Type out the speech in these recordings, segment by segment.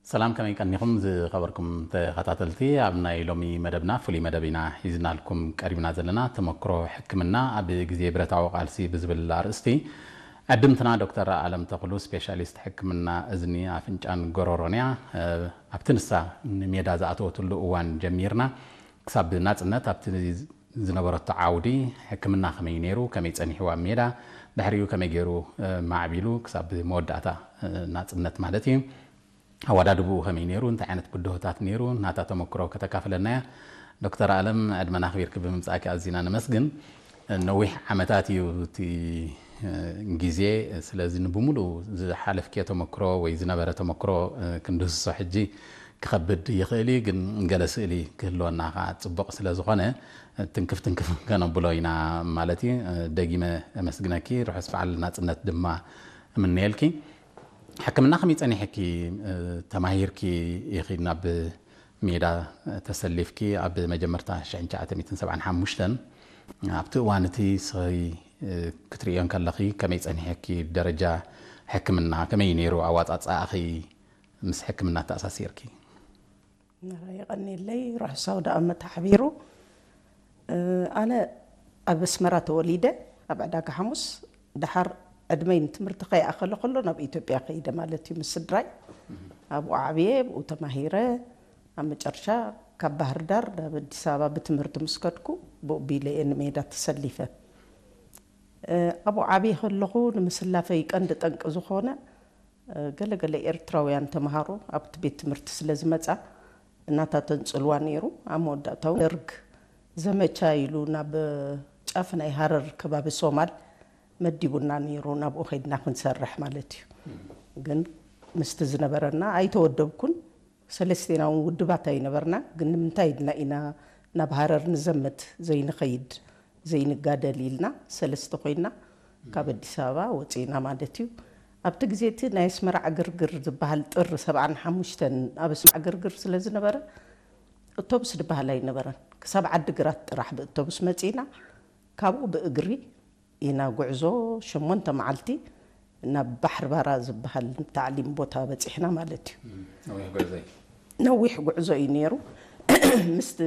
ሰላም፣ ከመይ ቀኒኹም ዝኸበርኩም ተኸታተልቲ? ኣብ ናይ ሎሚ መደብና፣ ፍሉይ መደብ ኢና ሒዝናልኩም ቀሪብና ዘለና። ተመክሮ ሕክምና ኣብ ግዜ ብረታዊ ቃልሲ ብዝብል ኣርእስቲ፣ ዕድምትና ዶክተር ኣለም ተኽሉ፣ ስፔሻሊስት ሕክምና እዝኒ፣ ኣፍንጫን ጎረሮን እያ። ኣብቲ ንሳ ንሜዳ ዝኣተወትሉ እዋን ጀሚርና ክሳብ ናጽነት ኣብቲ ዝነበረቶ ዓውዲ፣ ሕክምና ከመይ ነይሩ፣ ከመይ ጸኒሕዋ ሜዳ፣ ድሕሪኡ ከመይ ገይሩ ማዕቢሉ ክሳብ መወዳእታ ናጽነት ማለት እዩ። ኣወዳድብኡ ከመይ ነይሩ፣ እንታይ ዓይነት ብድሆታት ነይሩ፣ ናታ ተመክሮ ከተካፍለና እያ። ዶክተር ኣለም፣ ዕድመና ኣኽቢርኪ ብምምጻእኪ ኣዚና ነመስግን። ነዊሕ ዓመታት እዩ እቲ ግዜ፣ ስለዚ ንብሙሉ ዝሓለፍክዮ ተመክሮ ወይ ዝነበረ ተመክሮ ክንድህስሶ ሕጂ ክኸብድ ይኽእል እዩ፣ ግን ገለ ስእሊ ክህልወና ከዓ ጽቡቕ ስለ ዝኾነ፣ ትንክፍ ትንክፍ ከነብሎ ኢና ማለት እዩ። ደጊመ ኣመስግነኪ፣ ርሑስ በዓል ናጽነት ድማ እምነየልኪ። ሕክምና ከመይ ጸኒሕኪ? ተማሂርኪ ኢኺ ናብ ሜዳ ተሰሊፍኪ ኣብ መጀመርታ ሽሕን ትሽዓተ ሚእትን ሰብዓን ሓሙሽተን። ኣብቲ እዋን እቲ ስኺ ክትርእዮ እንከለኺ ከመይ ጸኒሐኪ? ደረጃ ሕክምና ከመይ ነይሩ ኣዋጻጽኣኺ ምስ ሕክምና ተኣሳሲርኪ? የቐኒለይ፣ ርሑስ ኣውደ ኣመት ሓቢሩ። ኣነ ኣብ ኣስመራ ተወሊደ፣ ኣብ ዕዳጋ ሓሙስ። ደሓር ዕድመይ ንትምህርቲ ከይኣኸለ ከሎ ናብ ኢትዮጵያ ከይደ ማለት እዩ፣ ምስ ስድራይ። ኣብኡ ዓብየ፣ ብኡ ተማሂረ። ኣብ መጨረሻ ካብ ባህር ዳር ናብ ኣዲስ ኣበባ ብትምህርቲ ምስ ከድኩ፣ ብኡ ቢለ እየ ንሜዳ ተሰሊፈ። ኣብኡ ዓብየ ከለኹ፣ ንምስላፈይ ቀንዲ ጠንቂ ዝኾነ፣ ገለ ገለ ኤርትራውያን ተምሃሮ ኣብቲ ቤት ትምህርቲ ስለ ዝመጻ፣ እናታተን ጽልዋ ነይሩ። ኣብ መወዳእታ እውን ደርግ ዘመቻ ኢሉ ናብ ጫፍ ናይ ሃረር ከባቢ ሶማል መዲቡና ነይሩ። ናብኡ ከይድና ክንሰርሕ ማለት እዩ። ግን ምስቲ ዝነበረና ኣይተወደብኩን። ሰለስቴና እውን ውድባት ኣይነበርና። ግን ንምንታይ ኢልና ኢና ናብ ሃረር ንዘምት ዘይንኸይድ ዘይንጋደል ኢልና ሰለስተ ኮይና ካብ ኣዲስ ኣበባ ወፂእና ማለት እዩ። ኣብቲ ግዜ እቲ ናይ ኣስመራ ዕግርግር ዝበሃል ጥሪ ሰብዓን ሓሙሽተን ኣብ ኣስመራ ዕግርግር ስለ ዝነበረ፣ ኣውቶቡስ ዝበሃል ኣይነበረን። ክሳብ ዓዲ ግራት ጥራሕ ብኣውቶቡስ መፂእና። ካብኡ ብእግሪ ኢና ጉዕዞ ሸሞንተ መዓልቲ ናብ ባሕሪ ባራ ዝበሃል ታዕሊም ቦታ በፂሕና ማለት እዩ። ነዊሕ ጉዕዞ እዩ። ነዊሕ ጉዕዞ እዩ ነይሩ። ምስቲ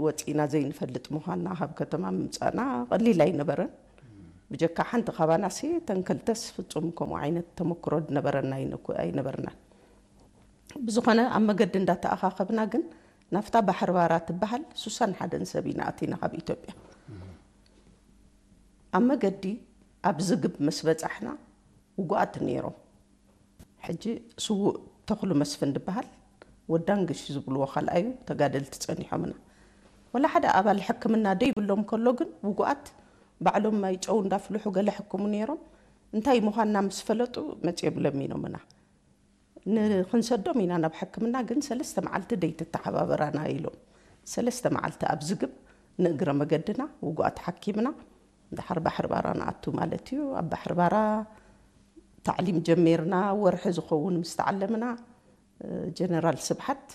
ወፂእና ዘይንፈልጥ ምዃንና፣ ካብ ከተማ ምምፃእና ቀሊል ኣይነበረን። ብጀካ ሓንቲ ካባናሲ ተንከልተስ ፍጹም ከምኡ ዓይነት ተመክሮ ዝነበረና ኣይነኩ-፣ ኣይነበርናን። ብዝኾነ ኣብ መገዲ እንዳተኣኻኸብና ግን ናብታ ባሕሪ ባራ ትበሃል ሱሳን ሓደን ሰብ ኢና ኣቲና ካብ ኢትዮጵያ። ኣብ መገዲ ኣብ ዝግብ ምስ በጻሕና ውጉኣት ነይሮም። ሕጂ ስዉእ ተኽሉ መስፍን ዝበሃል ወዳንግሽ ዝብልዎ ካልኣዩ ተጋደልቲ ጸኒሖምና። ወላ ሓደ ኣባል ሕክምና ደይብሎም ከሎ ግን ውጉኣት ባዕሎም ማይ ጨው እንዳፍልሑ ገለ ሕክሙ ነይሮም። እንታይ ምዃንና ምስ ፈለጡ መጺኦም ለሚኖምና። ንኽንሰዶም ኢና ናብ ሕክምና፣ ግን ሰለስተ መዓልቲ ደይትተሓባበራና ኢሎም። ሰለስተ መዓልቲ ኣብ ዝግብ ንእግረ መገድና ውጉኣት ሓኪምና፣ ድሓር ባሕሪ ባራ ንኣቱ ማለት እዩ። ኣብ ባሕሪ ባራ ታዕሊም ጀሚርና፣ ወርሒ ዝኸውን ምስ ተዓለምና፣ ጀነራል ስብሓት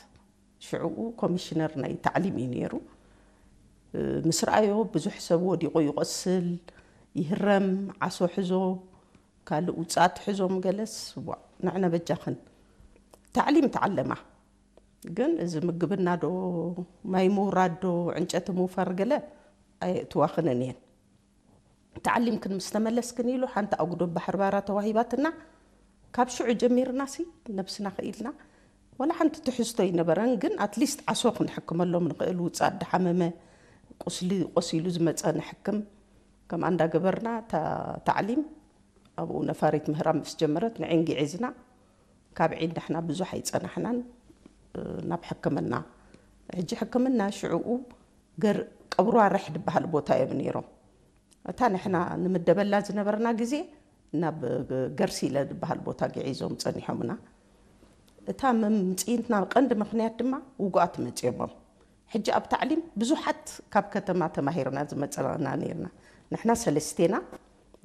ሽዕኡ ኮሚሽነር ናይ ታዕሊም እዩ ነይሩ። ምስ ረኣዮ ብዙሕ ሰብ ወዲቑ ይቖስል፣ ይህረም፣ ዓሶ ሕዞ፣ ካልእ ውፅኣት ሕዞም ገለስ፣ ዋእ፣ ንዕነ በጃኽን። ታዕሊም ተዓለማ። ግን እዚ ምግብና ዶ፣ ማይ ምውራድ ዶ፣ ዕንጨቲ ምውፋር ገለ ኣየእትዋኽንን እየን። ተዓሊምክን ምስ ተመለስክን ኢሉ ሓንቲ ኣጉዶ ባሕሪ ባራ ተዋሂባትና። ካብ ሽዑ ጀሚርና ሲ ነብስና ክኢልና ወላ ሓንቲ ትሕዝቶ ኣይነበረን። ግን ኣትሊስት ዓሶ ክንሕክመሎም ንኽእል፣ ውፅኣት ድሓመመ፣ ቁስሊ ቆሲሉ ዝመፀ ንሕክም። ከምኣ እንዳገበርና እታ ታዕሊም ኣብኡ ነፋሪት ምህራም ምስ ጀመረት ንዒን ግዒዝና። ካብ ዒን ንሕና ብዙሕ ኣይጸናሕናን ናብ ሕክምና። ሕጂ ሕክምና ሽዕኡ ገር-፣ ቀብሩ ኣረሕ ዝበሃል ቦታ እዮም ነይሮም። እታ ንሕና ንምደበላ ዝነበርና ግዜ ናብ ገርሲለ ዝበሃል ቦታ ግዒዞም ጸኒሖምና። እታ መምጽኢትና ቀንዲ ምኽንያት ድማ ውጉኣት መጺኦሞም። ሕጂ ኣብ ታዕሊም ብዙሓት ካብ ከተማ ተማሂርና ዝመጸና ነይርና። ንሕና ሰለስቴና፣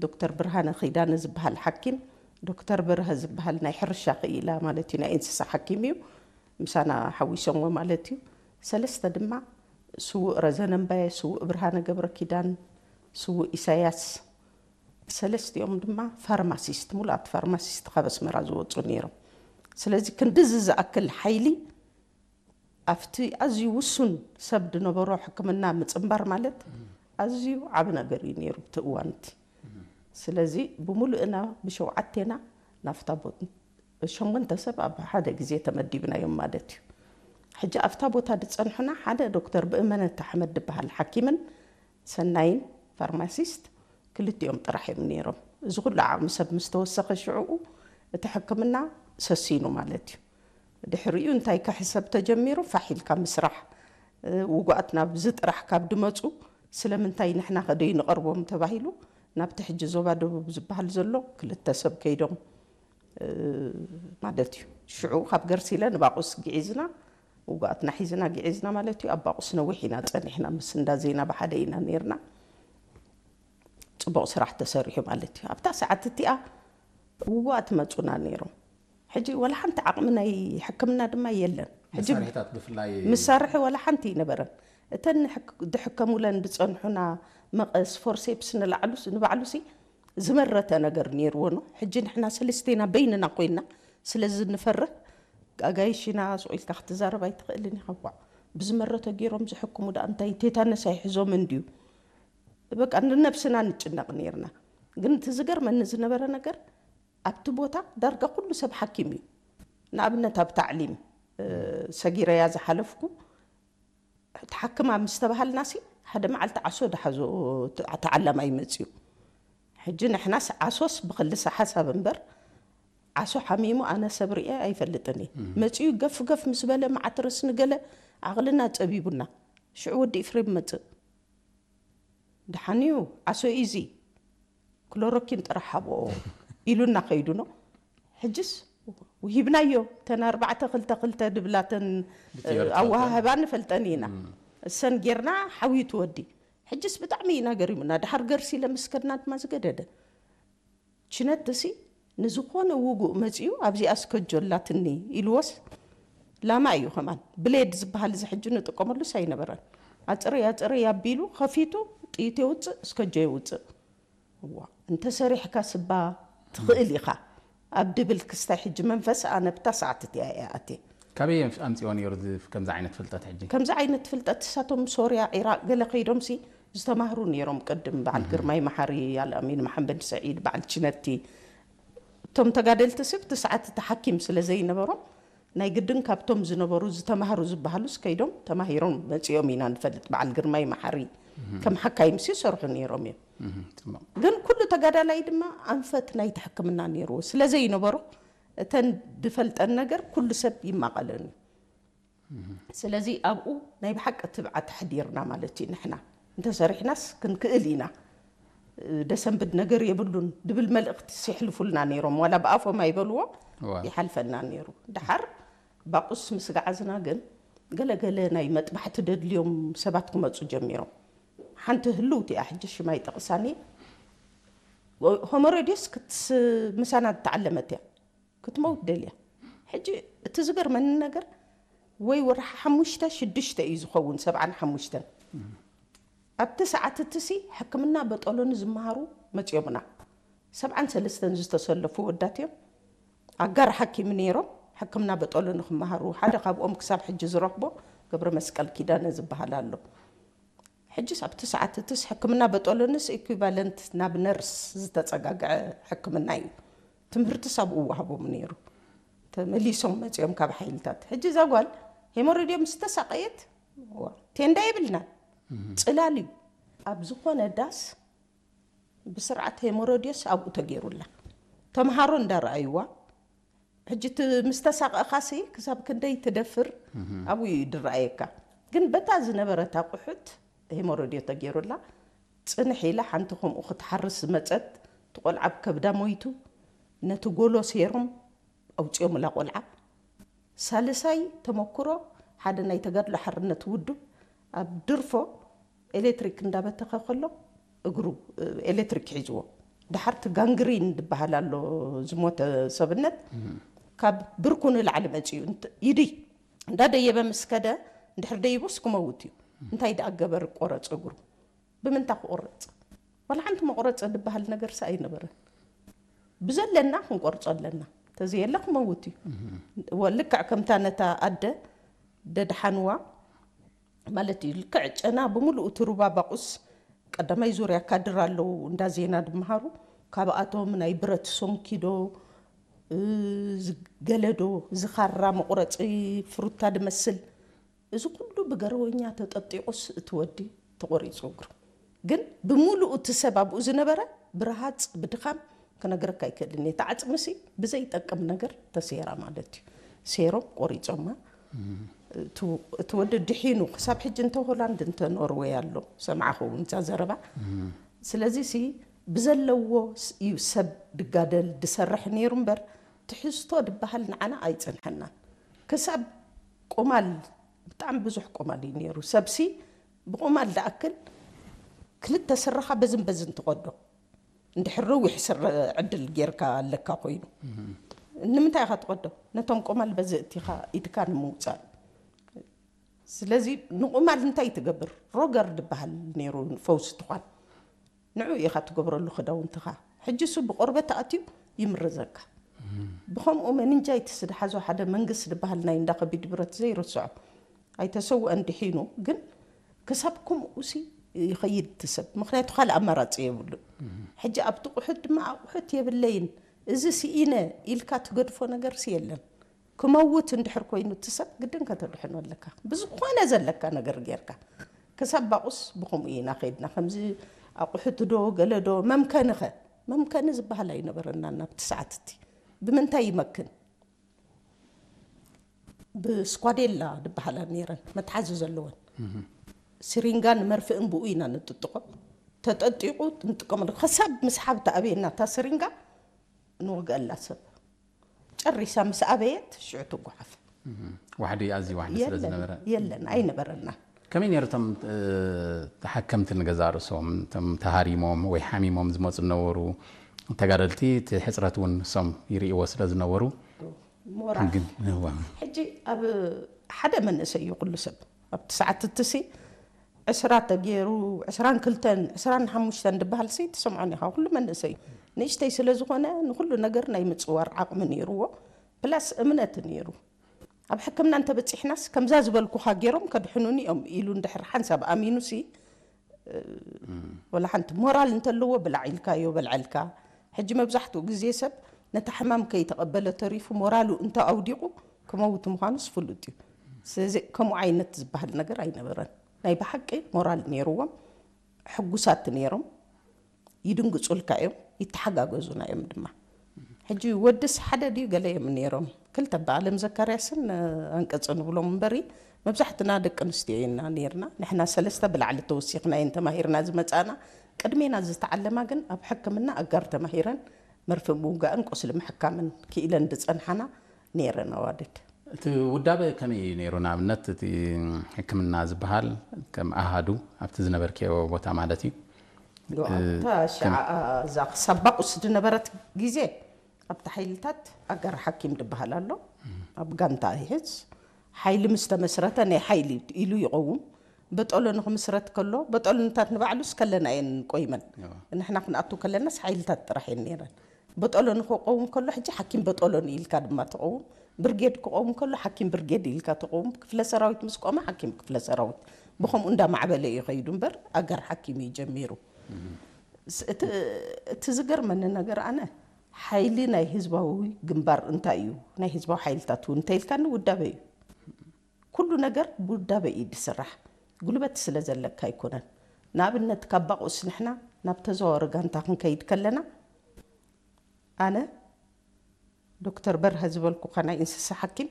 ዶክተር ብርሃነ ኪዳነ ዝበሃል ሓኪም፣ ዶክተር በርሀ ዝበሃል ናይ ሕርሻ ክኢላ ማለት እዩ፣ ናይ እንስሳ ሓኪም እዩ፣ ምሳና ሓዊሶምዎ ማለት እዩ። ሰለስተ ድማ ስዉእ ረዘነ እምባየ፣ ስዉእ ብርሃነ ገብረ ኪዳን፣ ስዉእ ኢሳያስ፣ ሰለስቲኦም ድማ ፋርማሲስት፣ ሙሉኣት ፋርማሲስት ካብ ኣስመራ ዝወፁ ነይሮም። ስለዚ ክንድዚ ዝኣክል ሓይሊ ኣብቲ ኣዝዩ ውሱን ሰብ ዝነበሮ ሕክምና ምጽንባር ማለት ኣዝዩ ዓቢ ነገር እዩ ነይሩ። እቲ እዋንቲ ስለዚ ብምሉእና ብሸውዓቴና ናፍታ ቦ- ሸሞንተ ሰብ ኣብ ሓደ ግዜ ተመዲብናዮም ማለት እዩ። ሕጂ ኣብታ ቦታ ዝጸንሑና ሓደ ዶክተር ብእመነት ኣሕመድ ዝበሃል ሓኪምን ሰናይን ፋርማሲስት ክልቲኦም ጥራሕ እዮም ነይሮም። እዚ ኩሉ ዓቕሚ ሰብ ምስ ተወሰኸ ሽዕኡ እቲ ሕክምና ሰሲኑ ማለት እዩ። ድሕሪኡ እንታይ ክሕሰብ ተጀሚሩ ፋሕ ኢልካ ምስራሕ ውጉኣት ናብዚ ጥራሕ ካብ ድመፁ ስለምንታይ ንሕና ከደይ ንቐርቦም ተባሂሉ ናብቲ ሕጂ ዞባ ደቡብ ዝበሃል ዘሎ ክልተ ሰብ ከይዶም ማለት እዩ። ሽዑ ካብ ገርሲለ ንባቑስ ግዒዝና ውጉኣትና ሒዝና ግዒዝና ማለት እዩ። ኣብ ባቑስ ነዊሕ ኢና ፀኒሕና ምስ እንዳ ዜና ብሓደ ኢና ነይርና። ፅቡቕ ስራሕ ተሰሪሑ ማለት እዩ። ኣብታ ሰዓት እቲኣ ውጉኣት መፁና ነይሮም። ሕጂ ወላ ሓንቲ ዓቕሚ ናይ ሕክምና ድማ የለን። ሕጂ መሳርሒታት ብፍላይ መሳርሒ ወላ ሓንቲ ይነበረን። እተን ንሕክ- ድሕከሙለን ዝፀንሑና መቐስ ፎርሴፕስ ንላዕሉስ ንባዕሉሲ ዝመረተ ነገር ነይርዎ ነው። ሕጂ ንሕና ሰለስቴና በይንና ኮይና ስለዚ ንፈርህ ኣጋይሽና ስቕ ኢልካ ክትዛረብ ኣይትኽእልን ኢኻ። ቧዕ ብዝመረተ ገይሮም ዝሕክሙ ደኣ እንታይ ቴታነስ ኣይሕዞምን ድዩ? በቃ ንነብስና ንጭነቕ ነይርና። ግን እቲ ዝገርመኒ ዝነበረ ነገር ኣብቲ ቦታ ዳርጋ ኩሉ ሰብ ሓኪም እዩ። ንኣብነት ኣብ ታዕሊም ሰጊረያ ዝሓለፍኩ ትሓክማ ምስ ተባሃልናሲ ሓደ መዓልቲ ዓሶ ድሓዞ ተዓላማይ መፅዩ። ሕጂ ንሕናስ ዓሶስ ብክልሰ ሓሳብ እምበር ዓሶ ሓሚሙ ኣነ ሰብ ርኤ ኣይፈልጥን እየ። መፅዩ ገፍ ገፍ ምስ በለ መዓት ርእሲ ንገለ ዓቕልና ፀቢቡና ሽዑ ወዲ ኢፍሬም መፅእ። ደሓንዩ ዓሶ ኢዚ ክሎሮኪን ጥራሕ ሃብኦ ኢሉና ከይዱ ነው። ሕጅስ ውሂብናዮ። ተን ኣርባዕተ ክልተ ክልተ ድብላተን ኣዋሃህባ ንፈልጠን ኢና። እሰን ጌርና ሓውዩ ትወዲ። ሕጅስ ብጣዕሚ ኢና ገሪሙና። ድሓር ገርሲ ለምስከድና ድማ ዝገደደ ችነትሲ ንዝኾነ ውጉእ መጺኡ ኣብዚኣ ስከጆላትኒ ኢልዎስ ላማ እዩ። ከማን ብሌድ ዝበሃል እዚ ሕጂ ንጥቀመሉስ ኣይነበረን። ኣጽረይ ኣጽረይ ኣቢሉ ከፊቱ ጥይት የውፅእ፣ ስከጆ የውፅእ። እዋ እንተሰሪሕካ ስባ ትኽእል ኢኻ ኣብ ድብል ክስታይ ሕጂ መንፈስ ኣነ ብታ ሰዓት እቲኣ እየ ኣትየ። ካበይ ኣምፅኦ ነይሩ እዚ ከምዚ ዓይነት ፍልጠት ሕጂ? ከምዚ ዓይነት ፍልጠት እሳቶም ሶርያ፣ ዒራቅ ገለ ከይዶምሲ ዝተማህሩ ነይሮም። ቅድም በዓል ግርማይ መሓሪ፣ ኣልኣሚን መሓመድ ሰዒድ፣ በዓል ችነቲ እቶም ተጋደልቲ ስብ እቲ ሰዓት እቲ ሓኪም ስለ ዘይነበሮም ናይ ግድን ካብቶም ዝነበሩ ዝተማህሩ ዝበሃሉስ ከይዶም ተማሂሮም መፂኦም ኢና ንፈልጥ። በዓል ግርማይ መሓሪ ከም ሓካይምሲ ይሰርሑ ነይሮም እዮም። ግን ኩሉ ተጋዳላይ ድማ ኣንፈት ናይቲ ሕክምና ነይርዎ ስለ ዘይነበሮ እተን ድፈልጠን ነገር ኩሉ ሰብ ይማቐለን እዩ። ስለዚ ኣብኡ ናይ ብሓቂ ትብዓት ኣሕዲርና ማለት እዩ። ንሕና እንተሰሪሕናስ ክንክእል ኢና። ደሰንብድ ነገር የብሉን ድብል መልእኽቲ ሲሕልፉልና ነይሮም። ዋላ ብኣፎም ኣይበልዎ ይሓልፈና ነይሩ። ድሓር ባቁስ ምስ ገዓዝና ግን ገለገለ ናይ መጥባሕቲ ደድልዮም ሰባት ክመፁ ጀሚሮም። ሓንቲ ህልውቲ እያ ሕጂ ሽማይ ጠቕሳኒ ሆሞሬዲዮስ ክትስ ምሳና ዝተዓለመት እያ። ክትመውት ደልያ። ሕጂ እቲ ዝገርመኒ ነገር ወይ ወርሒ ሓሙሽተ ሽዱሽተ እዩ ዝኸውን ሰብዓን ሓሙሽተን ኣብቲ ሰዓት እትሲ ሕክምና በጠሎኒ ዝመሃሩ መፅዮምና። ሰብዓን ሰለስተን ዝተሰለፉ ወዳት እዮም። ኣጋር ሓኪም ነይሮም ሕክምና በጠሎኒ ክመሃሩ ሓደ ካብኦም ክሳብ ሕጂ ዝረኽቦ ገብረ መስቀል ኪዳነ ዝበሃል ኣሎ። ሕጅስ ኣብቲ ሰዓት እትስ ሕክምና በጠሎንስ ኢኩቫለንት ናብ ነርስ ዝተጸጋግዐ ሕክምና እዩ። ትምህርትስ ኣብኡ ወሃቦም ነይሩ። ተመሊሶም መጺኦም ካብ ሓይልታት። ሕጂ እዛ ጓል ሄሞሮዲዮ ምስ ተሳቀየት ዋ፣ ቴንዳ የብልናን። ጽላል እዩ። ኣብ ዝኾነ ዳስ ብስርዓት ሄሞሮዲዮስ ኣብኡ ተገይሩላ። ተምሃሮ እንዳረኣይዋ ሕጂ እቲ ምስ ተሳቐእኻሲ ክሳብ ክንደይ ትደፍር ኣብኡ እዩ ድረኣየካ። ግን በታ ዝነበረት ኣቑሑት ሄሞሮድዮ ተገይሩላ ጽንሕ ኢላ ሓንቲ ከምኡ ክትሓርስ ዝመጸት እቲ ቆልዓ ኣብ ከብዳ ሞይቱ ነቲ ጎሎ ሴሮም ኣውጺኦምላ ቆልዓ። ሳልሳይ ተመክሮ ሓደ ናይ ተጋድሎ ሓርነት ውድብ ኣብ ድርፎ ኤሌክትሪክ እንዳበተኸ ከሎ እግሩ ኤሌክትሪክ ሒዝዎ። ድሓርቲ ጋንግሪን ዝበሃል ኣሎ ዝሞተ ሰብነት ካብ ብርኩ ንላዕሊ መፂኡ ይድይ እንዳደየበ ምስ ከደ እንድሕር ደይቡስ ክመውት እዩ። እንታይ ደኣ ገበር ቆረፅ እግሩ ብምንታ ክቆረፅ? ዋላ ሓንቲ መቁረፂ ዝበሃል ነገር ሰ ኣይነበረን። ብዘለና ክንቆርፆ ኣለና። ተዘየለ ክመውት እዩ። ወ- ልክዕ ከምታ ነታ ኣደ ደድሓንዋ ማለት እዩ። ልክዕ ጨና ብምሉኡ እቲ ሩባ ባቑስ ቀዳማይ ዙርያ ካድር ኣለዉ እንዳ ዜና ድመሃሩ። ካብኣቶም ናይ ብረት ሶንኪዶ፣ እ፣ ዝገለዶ፣ ዝኻራ መቑረፂ ፍሩታ ድመስል፣ እዚ ኩሉ ብገረወኛ ተጠጢቑስ እቲ ወዲ ተቖሪፁ እግሩ። ግን ብምሉኡ እቲ ሰብ ኣብኡ ዝነበረ ብረሃፅ ብድኻም ክነግረካ ኣይክእልን እየ። እቲ ዓፅምሲ ብዘይጠቅም ነገር ተሴራ ማለት እዩ። ሴሮም ቆሪፆማ። እቲ እቲ ወዲ ድሒኑ ክሳብ ሕጂ እንተ ሆላንድ እንተ ኖርወይ ኣሎ ሰምዓኹ እውን እዛ ዘረባ። ስለዚ ሲ ብዘለዎ ስ- እዩ ሰብ ድጋደል ድሰርሕ ነይሩ እምበር ትሕዝቶ ድበሃል ንዓና ኣይፀንሐናን። ክሳብ ቁማል ብጣዕሚ ብዙሕ ቁማል እዩ ነይሩ። ሰብሲ ብቁማል ድኣክል ክልተ ስረኻ በዝን በዝን ትቐዶ። እንድሕር ረዊሕ ስረ ዕድል ጌርካ ኣለካ ኮይኑ ንምንታይ ኢኻ ትቐዶ? ነቶም ቁማል በዚ እቲኻ ኢድካ ንምውፃእ። ስለዚ ንቁማል እንታይ ትገብር? ሮገር ድበሃል ነይሩ ፈውሲ ትኳን። ንዑ ኢኻ ትገብረሉ ክዳውንትኻ። ሕጂ እሱ ብቆርበት ኣትዩ ይምረዘካ። ብኸምኡ መንንጃይትስ ድሓዞ ሓደ መንግስ ድበሃል ናይ እንዳ ከቢድ ብረት ዘይርስዖ። ኣይተሰውአን ድሒኑ ግን ክሳብ ከምኡ ሲ ይኸይድ እቲ ሰብ። ምኽንያቱ ካልእ ኣማራፂ የብሉን። ሕጂ ኣብቲ ቁሑት ድማ ኣቑሑት የብለይን፣ እዚ ስኢነ ኢልካ ትገድፎ ነገርሲ የለን። ክመውት እንድሕር ኮይኑ እቲ ሰብ ግድን ከተድሕኖ ኣለካ። ብዝኾነ ዘለካ ነገር ጌርካ። ክሳብ ባቑስ ብኸምኡ ኢና ከይድና። ከምዚ ኣቑሑት ዶ ገለ ዶ መምከኒ ኸ? መምከኒ ዝበሃል ኣይነበረናን ኣብቲ ሰዓት እቲ። ብምንታይ ይመክን? ብስኳዴላ ዝበሃላ ነይረን፣ መትሓዚ ዘለወን። ስሪንጋን መርፍእን ብኡ ኢና ንጥጥቖ። ተጠጢቑ ንጥቀመሉ። ክሳብ ምስሓብ ተኣብየና እታ ስሪንጋ ንወግአላ ሰብ። ጨሪሳ ምስ ኣበየት ሽዑ ትጓሓፍ። ዋሕዲ ኣዝዩ ዋሕዲ ስለ የለን ዝነበረ የለን ኣይነበረና። ከመይ ነይሩ እቶም እ፣ ተሓከምቲ ንገዛ ርእሶም እቶም ተሃሪሞም ወይ ሓሚሞም ዝመፁ ዝነበሩ ተጋደልቲ እቲ ሕፅረት እውን እሶም ይርእይዎ ስለ ዝነበሩ ሞራል ግን እዋ ሕጂ ኣብ ሓደ መንእሰይ እዩ ኩሉ ሰብ ኣብቲ ሰዓት እትሲ ዕስራ ተገይሩ ዕስራን ክልተን ዕስራን ሓሙሽተን ድበሃል ሲ ትሰምዖን ኢኻ። ኩሉ መንእሰይ እዩ። ንእሽተይ ስለ ዝኾነ ንኩሉ ነገር ናይ ምፅዋር ዓቕሚ ነይርዎ። ፕላስ እምነት ነይሩ። ኣብ ሕክምና እንተበፂሕናስ ከምዛ ዝበልኩኻ ገይሮም ከድሕኑኒ እዮም ኢሉ እንድሕር ሓንሳብ ኣሚኑ ሲ ወላ ሓንቲ ሞራል እንተለዎ ብላዕ ኢልካዮ በልዐልካ። ሕጂ መብዛሕትኡ ግዜ ሰብ ነታ ሕማም ከይተቐበለ ተሪፉ ሞራሉ እንተ ኣውዲቑ ክመውት ምዃኑስ ፍሉጥ እዩ። ስለዚ ከምኡ ዓይነት ዝበሃል ነገር ኣይነበረን። ናይ ብሓቂ ሞራል ነይርዎም፣ ሕጉሳት ነይሮም፣ ይድንግፁልካ እዮም፣ ይተሓጋገዙና እዮም ድማ። ሕጂ ወድስ ሓደ ድዩ ገለ እዮም ነይሮም፣ ክልተ በኣለም ዘካርያስን ኣንቀፅ ንብሎም እምበሪ መብዛሕትና ደቂ ኣንስትዮ ኢና ነይርና። ንሕና ሰለስተ ብላዕሊ ተወሲኽና እየን ተማሂርና ዝመፃና። ቅድሜና ዝተዓለማ ግን ኣብ ሕክምና ኣጋር ተማሂረን መርፍእ ምውጋእን ቁስሊ ምሕካምን ክኢለን ዝፀንሓና ነይረን ኣዋልድ። እቲ ውዳበ ከመይ እዩ ነይሩ? ንኣብነት እቲ ሕክምና ዝበሃል ከም ኣሃዱ ኣብቲ ዝነበርክዮ ቦታ ማለት እዩ። እታ ሽዓ እዛ ክሳብ ባቁስ ዝነበረት ግዜ ኣብቲ ሓይልታት ኣጋር ሓኪም ዝበሃል ኣሎ። ኣብ ጋንታ ይሕዝ። ሓይሊ ምስ ተመስረተ ናይ ሓይሊ ኢሉ ይቐውም። በጠሎ ንክምስረት ከሎ በጠሎታት ንባዕሉስ ከለና እየን ቆይመን። ንሕና ክንኣቱ ከለናስ ሓይልታት ጥራሕ እየን ነይረን። በጠሎ ንክቀውም ከሎ ሕጂ ሓኪም በጠሎ ኢልካ ድማ ትቐውም። ብርጌድ ክቐውም ከሎ ሓኪም ብርጌድ ኢልካ ትቐውም። ክፍለ ሰራዊት ምስ ቆመ ሓኪም ክፍለ ሰራዊት። ብኸምኡ እንዳማዕበለ እዩ ከይዱ እምበር ኣጋር ሓኪም እዩ ጀሚሩ። ስ- እቲ እቲ ዝገርመኒ ነገር ኣነ ሓይሊ ናይ ህዝባዊ ግንባር እንታይ እዩ? ናይ ህዝባዊ ሓይልታት እውን እንተኢልካኒ ውዳበ እዩ። ኩሉ ነገር ብውዳበ እዩ ዝስራሕ። ጉልበት ስለ ዘለካ ኣይኮነን። ንኣብነት ካብ ባቑስ ንሕና ናብ ተዘዋወሪ ጋንታ ክንከይድ ከለና ኣነ ዶክተር በርሀ ዝበልኩኻ ናይ እንስሳ ሓኪም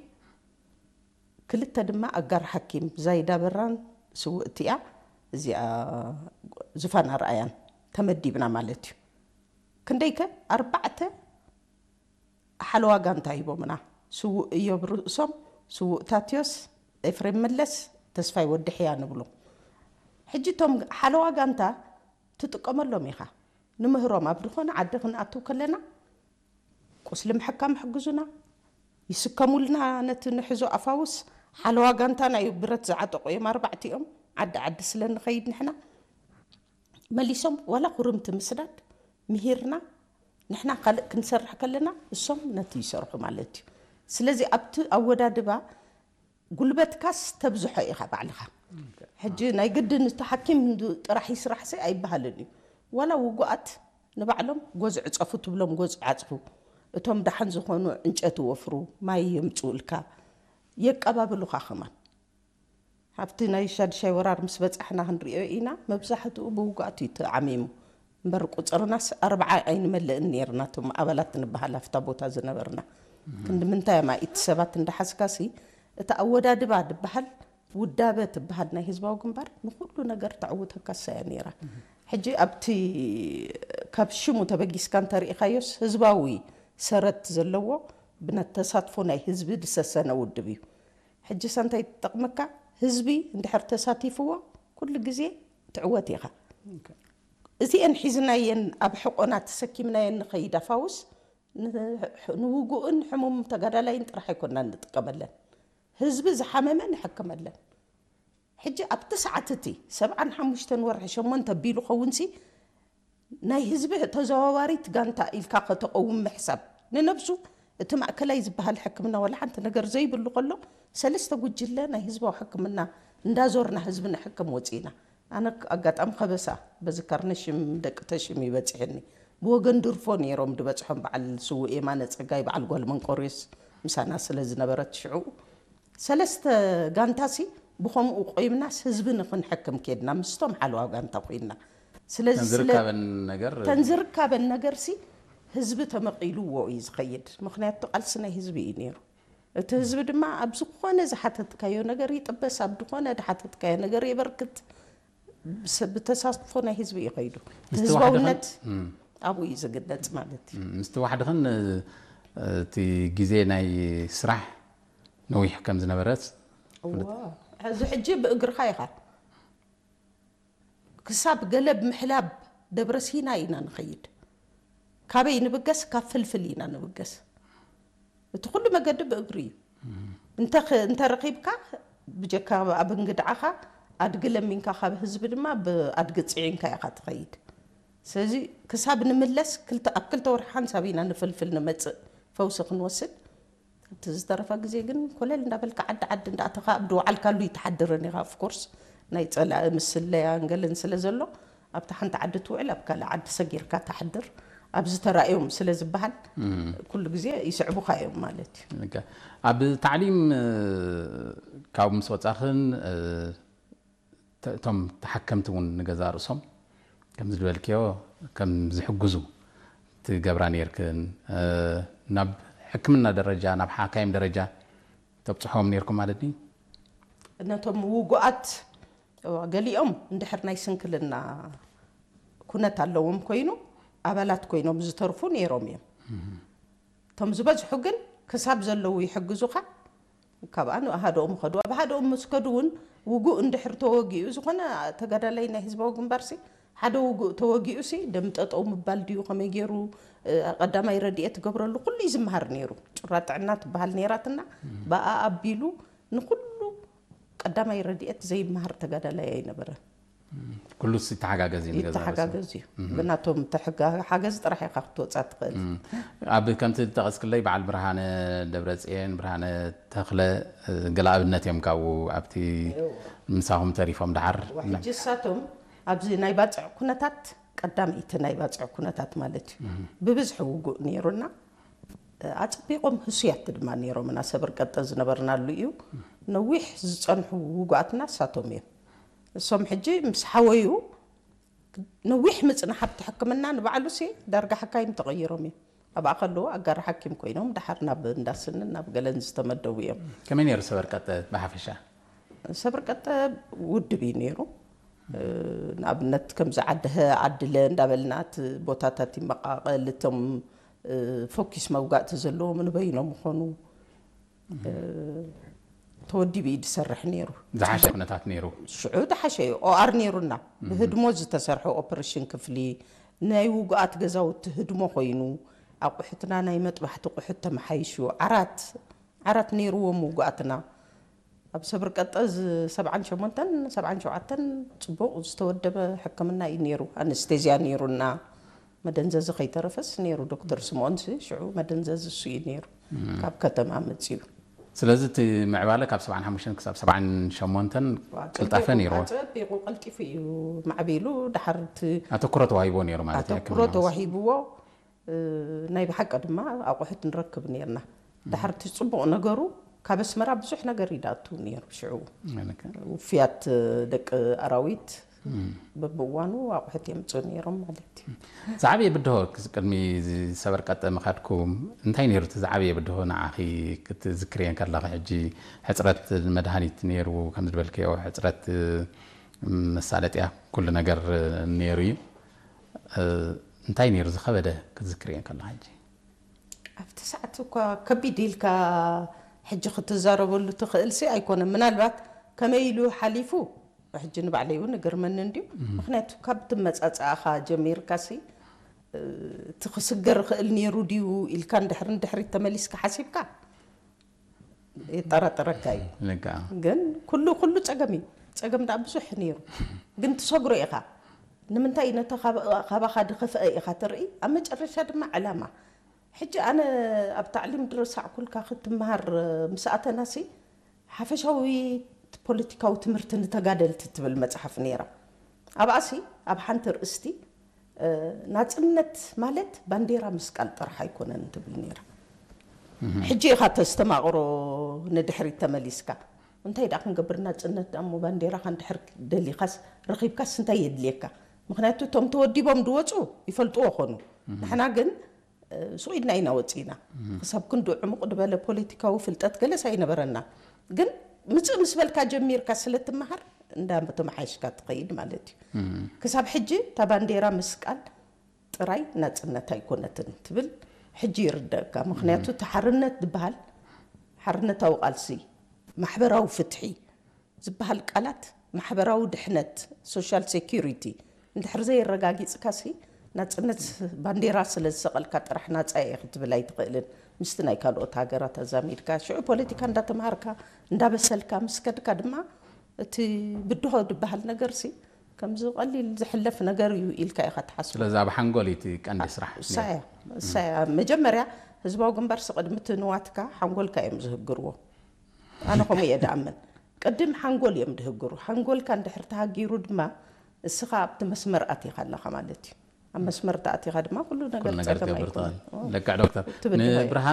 ክልተ ድማ ኣጋር ሓኪም ዛይዳ በራን ስውእቲ እያ እዚኣ ዙፋን ኣርኣያን ተመዲብና ማለት እዩ። ክንደይከ ኣርባዕተ ሓለዋ ጋንታ ሂቦምና። ስዉእ እዮብ ርእሶም፣ ስዉእ ታትዮስ፣ ኤፍሬም መለስ፣ ተስፋይ ወዲ ሕያ ንብሎ። ሕጂ እቶም ሓለዋ ጋንታ ትጥቀመሎም ኢኻ። ንምህሮም ኣብ ዝኾነ ዓዲ ክንኣትው ከለና ቁስሊ ምሕካም ይሕግዙና፣ ይስከሙልና ነቲ ንሕዞ ኣፋውስ። ሓለዋ ጋንታ ናይ ብረት ዝዓጠቑ እዮም ኣርባዕቲኦም። ዓዲ ዓዲ ስለ ንኸይድ ንሕና መሊሶም ዋላ ኩርምቲ ምስዳድ ምሂርና ንሕና ካልእ ክንሰርሕ ከለና እሶም ነቲ ይሰርሑ ማለት እዩ። ስለዚ ኣብቲ ኣወዳድባ ጉልበትካስ ተብዝሖ ኢኻ ባዕልኻ። ሕጂ ናይ ግድን እቲ ሓኪም ጥራሕ ይስራሕሲ ኣይበሃልን እዩ። ዋላ ውጉኣት ንባዕሎም ጎዝ ዕጸፉ ትብሎም ጎዝ ይዓጽፉ። እቶም ደሓን ዝኾኑ ዕንጨቲ ወፍሩ፣ ማይ የምጽኡልካ፣ የቀባብሉኻ ከማን። ኣብቲ ናይ ሻድሻይ ወራር ምስ በጻሕና ክንሪኦ ኢና፣ መብዛሕትኡ ብውጉኣት እዩ ተዓሚሙ። እምበር ቁጽርናስ ኣርብዓ ኣይንመልእን ነይርና፣ እቶም ኣባላት ንበሃል ኣብታ ቦታ ዝነበርና። ክንዲ ምንታይ እማ ኢቲ ሰባት እንዳሓዝካሲ፣ እቲ ኣወዳድባ ድበሃል፣ ውዳበ ትበሃል ናይ ህዝባዊ ግንባር ንኹሉ ነገር ተዕውተካ እሳ እያ ነይራ። ሕጂ ኣብቲ ካብ ሽሙ ተበጊስካ እንተሪኢኻዮስ ህዝባዊ ሰረት ዘለዎ ብነት ተሳትፎ ናይ ህዝቢ ዝሰሰነ ውድብ እዩ። ሕጂ ሳ እንታይ ትጠቕመካ? ህዝቢ እንድሕር ተሳቲፍዎ ኩሉ ግዜ ትዕወት ኢኻ። እዚአን ሒዝናየን ኣብ ሕቆና ተሰኪምናየን ንኸይድ ኣፋውስ ን-፣ ንውጉእን ሕሙም ተጋዳላይን ጥራሕ ኣይኮንና ንጥቀመለን። ህዝቢ ዝሓመመ ንሕክመለን። ሕጂ ኣብቲ ሰዓት እቲ ሰብዓን ሓሙሽተን ወርሒ ሸሞንተ ቢሉ ኸውንሲ ናይ ህዝቢ ተዘዋዋሪት ጋንታ ኢልካ ከተቐውም ምሕሳብ ንነብሱ እቲ ማእከላይ ዝበሃል ሕክምና ዋላ ሓንቲ ነገር ዘይብሉ ከሎ ሰለስተ ጉጅለ ናይ ህዝባዊ ሕክምና እንዳዞርና ህዝቢ ንሕክም ወፂና። ኣነ ኣጋጣሚ ከበሳ በዚ ካርነ ሽም ደቂ ተሽም ይበፅሐኒ። ብወገን ድርፎ ነይሮም ድበፅሖም በዓል ስውእ የማነ ፀጋይ በዓል ጓል መንቆርዮስ ምሳና ስለ ዝነበረት ሽዑ ሰለስተ ጋንታሲ ብኸምኡ ቆይምናስ ህዝቢ ንኽንሕክም ኬድና ምስቶም ሓለዋ ጋንታ ኮይንና። ስለዚ ተን ስለ ዝርካበን ነገር ተን ዝርካበን ነገርሲ ህዝቢ ተመቒልዎ እዩ ዝኸይድ። ምኽንያቱ ቃልሲ ናይ ህዝቢ እዩ ነይሩ። እቲ ህዝቢ ድማ ኣብ ዝኾነ ዝሓተትካዮ ነገር ይጥበስ፣ ኣብ ዝኾነ ዝሓተትካዮ ነገር የበርክት። ብሰ-፣ ብተሳትፎ ናይ ህዝቢ እዩ ከይዱ። እቲ ምስቲ ዋሕዲ ህዝባውነት ኸን-፣ እም። ኣብኡ እዩ ዝግለጽ ማለት እዩ። እም፣ ምስቲ ዋሕዲ ኸን፣ እቲ ግዜ ናይ ስራሕ ነዊሕ ከም ዝነበረስ እዋ፣ እዚ ሕጂ ብእግርኻ ኢኻ። ክሳብ ገለብ ምሕላብ ደብረ ሲና ኢና ንኸይድ። ካበይ ንብገስ? ካብ ፍልፍል ኢና ንብገስ። እቲ ኩሉ መገዲ ብእግሪ እዩ። እንተ ኸ-፣ እንተ ረኺብካ ብጀካ ኣብ እንግድዓኻ ኣድጊ ለሚንካ ካብ ህዝቢ ድማ ብኣድጊ ጽዒንካ ኢኻ ትኸይድ። ስለዚ ክሳብ ንምለስ ክልተ፣ ኣብ ክልተ ወርሒ ሓንሳብ ኢና ንፍልፍል ንመጽእ ፈውሲ ክንወስድ። እቲ ዝተረፈ ግዜ ግን ኮለል እንዳበልካ ዓዲ ዓዲ እንዳኣተኻ ኣብ ድወዓልካሉ ይትሓድርን ኢኻ። Of course ናይ ጸላኢ ምስለያን ገለን ስለ ዘሎ ኣብታ ሓንቲ ዓዲ ትውዕል ኣብ ካልእ ዓዲ ሰጊርካ ትሓድር። ኣብዚ ተራእዮም ስለ ዝበሃል እም። ኩሉ ግዜ ይስዕቡኻ እዮም ማለት እዩ። ልክዕ። ኣብ ታዕሊም፣ እ፣ ካብ ምስ ወጻኽን፣ እ፣ ተ-፣ እቶም ተሓከምቲ እውን ንገዛእ ርእሶም ከምዚ ዝበልክዮ ከም ዝሕግዙ ትገብራ ነይርክን፣ እ፣ ናብ ሕክምና ደረጃ፣ ናብ ሓካይም ደረጃ ተብጽሖም ነይርኩም ማለት ድዩ? ነቶም ውጉኣት፣ እዋ፣ ገሊኦም እንድሕር ናይ ስንክልና ኩነት ኣለዎም ኮይኑ ኣባላት ኮይኖም ዝተርፉ ነይሮም እዮም። እቶም ዝበዝሑ ግን ክሳብ ዘለዉ ይሕግዙኻ። ካብኣ ንሓደኦም ኸዱ። ኣብ ሓደኦም ምስ ከዱ እውን ውጉእ እንድሕር ተወጊኡ፣ ዝኾነ ተጋዳላይ ናይ ህዝባዊ ግንባርሲ ሓደ ውጉእ ተወጊኡሲ ደም ጠጠው ምባል ድዩ፣ ከመይ ገይሩ፣ እ፣ ቀዳማይ ረድኤት ትገብረሉ ኩሉ እዩ ዝመሃር ነይሩ። ጩራ ጥዕና ትበሃል ነይራትና፣ ብኣ ኣቢሉ ንኹሉ ቀዳማይ ረድኤት ዘይመሃር ተጋዳላይ ኣይነበረን። ኩሉስ ይተሓጋገዝ እዩ ንገዛ ርእሱ። ይተሓጋገዝ እዩ። እም። ብናቶም ተሕጋ-፣ ሓገዝ ጥራሕ ኢኻ ክትወጻ ትኽእል። እም። ኣብ ከምቲ ዝጠቐስክለይ በዓል ብርሃነ ደብረጽዮን፣ ብርሃነ ተኽለ፣ እ፣ ገለ ኣብነት እዮም ካብኡ ኣብቲ እዎ። ምሳኹም ተሪፎም ደሓር። ዋ፣ ሕጂ እሳቶም ኣብዚ ናይ ባጽዕ ኩነታት፣ ቀዳመይቲ ናይ ባጽዕ ኩነታት ማለት እዩ። እም። ብብዝሒ ውጉእ ነይሩና። ኣጸቢቖም ህሱያት ድማ ነይሮምና። ሰብር ቀጠ ዝነበርናሉ እዩ። ነዊሕ ዝጸንሑ ውጉኣትና እሳቶም እዮም። እሶም ሕጂ ምስ ሓወዩ ነዊሕ ምጽናሕ ኣብቲ ሕክምና ንባዕሉሲ ዳርጋ ሓካይም ተቐይሮም እዮም። ኣብኣ ከለዉ ኣጋር ሓኪም ኮይኖም ደሓር ናብ እንዳስንን ናብ ገለን ዝተመደቡ እዮም። ከመይ ነይሩ ሰበር ቀጠ ብሓፈሻ? ሰበር ቀጠ ውድብ እዩ ነይሩ። እ፣ ንኣብነት ከምዚ ዓዲ ሀ፣ ዓዲ ለ እንዳበልና እቲ ቦታታት ይመቓቐል፣ እቶም፣ እ፣ ፎኪስ መውጋእቲ ዘለዎም ንበይኖም ይኾኑ። እ፣ ተወዲቡ እዩ ዝሰርሕ ነይሩ። ዝሓሸ ኩነታት ነይሩ። ሽዑ ዝሓሸ እዩ። ኦኣር ነይሩና። ብህድሞ ዝተሰርሐ ኦፕሬሽን ክፍሊ፣ ናይ ውጉኣት ገዛውቲ ህድሞ ኮይኑ፣ ኣቑሑትና ናይ መጥባሕቲ ቁሑት ተመሓይሹ፣ ዓራት፣ ዓራት ነይርዎም ውጉኣትና። ኣብ ሰብር ቀጠ ዝ-፣ ሰብዓን ሸሞንተን፣ ሰብዓን ሸውዓተን ጽቡቕ ዝተወደበ ሕክምና እዩ ነይሩ። ኣነስቴዝያ ነይሩና። መደንዘዚ ከይተረፈስ ነይሩ። ዶክተር ስምኦንሲ ሽዑ መደንዘዚ እሱ እዩ ነይሩ፣ ካብ ከተማ መፂኡ። ስለዚ እቲ ምዕባለ ካብ ሰብዓን ሓሙሽተን ክሳብ ሰብዓን ሸሞንተን ዋ፣ ቅልጣፈ ጸቢቑ- ነይርዎ። ጸቢቑ ቀልጢፉ እዩ ማዕቢሉ። ድሓር እቲ ኣተኩሮ ተዋሂቦ ነይሩ ማለት እዩ። ኣተኩሮ ተዋሂብዎ። እ፣ ናይ ብሓቂ ድማ ኣቑሑት ንረክብ ነይርና። ድሓር እቲ ጽቡቕ ነገሩ ካብ ኣስመራ ብዙሕ ነገር ይዳቱ ነይሩ። ሽዑ ውፍያት ደቂ ኣራዊት በብእዋኑ ኣቑሑት የምፅኡ ነይሮም ማለት እዩ። ዝዓበየ ብድሆ ቅድሚ ሰበር ቀጠ ምኻድኩም እንታይ ነይሩ? እቲ ዝዓበየ ብድሆ ንዓኺ ክትዝክርየን ከለኺ፣ ሕጂ ሕፅረት መድሃኒት ነይሩ ከም ዝበልክዮ፣ ሕፅረት መሳለጥያ፣ ኩሉ ነገር ነይሩ እዩ። እንታይ ነይሩ ዝኸበደ ክትዝክርየን ከለኺ ሕጂ? ኣብቲ ሰዓት እኳ ከቢድ ኢልካ ሕጂ ክትዛረበሉ ትኽእል ሲ ኣይኮነን። ምናልባት ከመይ ኢሉ ሓሊፉ ሕጂ ንባዕለይ እውን እግርመኒ እንድዩ። ምክንያቱ ካብ ትመፃፃእኻ ጀሚርካ ሲ እቲ ክስገር ይኽእል ነይሩ ድዩ ኢልካ ንድሕሪ ንድሕሪት ተመሊስካ ሓሲብካ የጠራጥረካ እዩ። ልክዓ። ግን ኩሉ ኩሉ ፀገም እዩ። ፀገም ደኣ ብዙሕ ነይሩ፣ ግን ትሰግሮ ኢኻ። ንምንታይ ነታ ካብ- ካባኻ ድኸፍአ ኢኻ ትርኢ። ኣብ መጨረሻ ድማ ዕላማ። ሕጂ ኣነ ኣብ ታዕሊም ድረሳዕኩልካ ክትመሃር ምስ ኣተናሲ ሓፈሻዊ ፖለቲካዊ ትምህርቲ ንተጋደልቲ ትብል መፅሓፍ ነይራ። ኣብኣሲ ኣብ ሓንቲ ርእስቲ ናፅነት ማለት ባንዴራ ምስቃል ጥራሕ ኣይኮነን ትብል ነይራ። ሕጂ ኢኻ ተስተማቕሮ ንድሕሪት ተመሊስካ እንታይ ደኣ ክንገብር ናፅነት ደኣ እሞ ባንዴራኻ እንድሕር ደሊኻስ ረኺብካስ እንታይ የድልየካ? ምክንያቱ እቶም ተወዲቦም ድወፁ ይፈልጥዎ ኾኑ። ንሕና ግን ሱቕ ኢልና ኢና ወፂና። ክሳብ ክንዱ ዕሙቕ ድበለ ፖለቲካዊ ፍልጠት ገለስ ኣይነበረና። ግን ምፅእ ምስ በልካ ጀሚርካ ስለትመሃር እንዳተመሓየሽካ ትኸይድ ማለት እዩ። ክሳብ ሕጂ እታ ባንዴራ ምስቃል ጥራይ ናፅነት ኣይኮነትን ትብል ሕጂ ይርደእካ። ምክንያቱ እቲ ሓርነት ዝበሃል ሓርነታዊ ቃልሲ፣ ማሕበራዊ ፍትሒ ዝበሃል ቃላት ማሕበራዊ ድሕነት፣ ሶሻል ሴኩሪቲ፣ እንድሕር ዘየረጋጊፅካሲ ናፅነት ባንዴራ ስለ ዝሰቐልካ ጥራሕ ናፃ እየ ክትብል ኣይትኽእልን። ምስቲ ናይ ካልኦት ሃገራት ኣዛሚድካ ሽዑ ፖለቲካ እንዳተምሃርካ እንዳበሰልካ ምስ ከድካ ድማ እቲ ብድሆ ዝበሃል ነገርሲ ከምዚ ቀሊል ዝሕለፍ ነገር እዩ ኢልካ ኢኻ ትሓስቦ። ስለዚ ኣብ ሓንጎል እዩ እቲ ቀንዲ ስራሕ። እሳያ እሳያ መጀመርያ ህዝባዊ ግንባርሲ ቅድሚ እቲ ንዋትካ ሓንጎልካ እዮም ዝህግርዎ። ኣነ ከምኡ እየ ድኣምን። ቅድም ሓንጎል እዮም ድህግሩ። ሓንጎልካ እንድሕር ተሃጊሩ ድማ እስኻ ኣብቲ መስመር ኣቲኻ ኣለኻ ማለት እዩ። ኣብ መስመር ተኣቲኻ ድማ ኩሉ ነገር ኩሉ ነገር ፀገም ትገብር ኣይኮነን። ትኽእል። ልክዕ ዶክተር። እቲ ብድሆ እዩ። ንብርሃነ